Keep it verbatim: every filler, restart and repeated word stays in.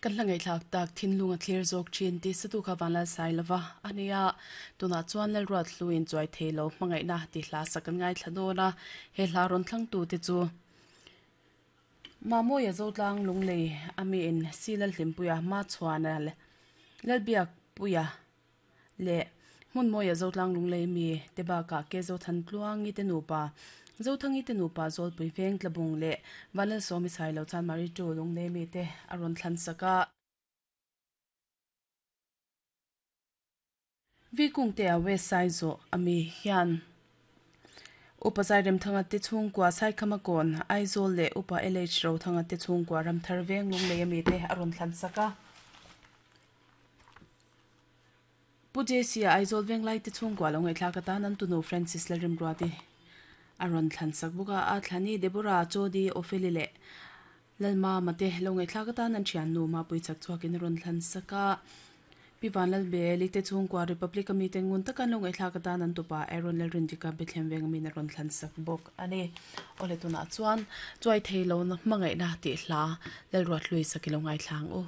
Kan hla ngaihthlak tak thinlung a thlir zawk thin ti satu kha vanlal sai lova ania tuna chuan lal ruat hluin chuai theilo hmangaihna ti hla sak kan ngai thla dawn a he hla rawn thlang tu te chu Mamoya Zotlang Lunglei ami in Silal Hlimpuia ma chhuana le Lalbiak Puia le hmun moya Zotlang Lunglei mi te baka ke zo than tluangi te nupa Zothangi te nupa Zawlpui veng tlabung le Vanlal Sawmi sai lo chan mari tu Lunglei mi te a rawn thlan saka vi kung te a west side zo ami hian upa zai rem thanga te chhungkua sai khama kawn Aizawl le upa L H ro thanga te chhungkua ramthar veng Lunglei ami te a rawn thlan saka Pu J C Aizawl veng lai te chhungkua lo ngaihthlak atan an tunu Francis Lalrimruati a rawn thlan sak bawk a a thlani Deborah Chodi Opheli leh Lalma mate lo ngaihthlak atan an thian nu mapui chak chhuakin a rawn thlan saka Pi Vanlal Beli te chhungkua Republic ami te ngun takan lo ngaihthlak atan an tupa Aaron Lalrindika Bethlehem veng ami na rawn thlan sak bawk ani. Ole tuna chuan chuai theilo na hmangaihna ti hla Lalruat hlui sakilo ngaithlang u.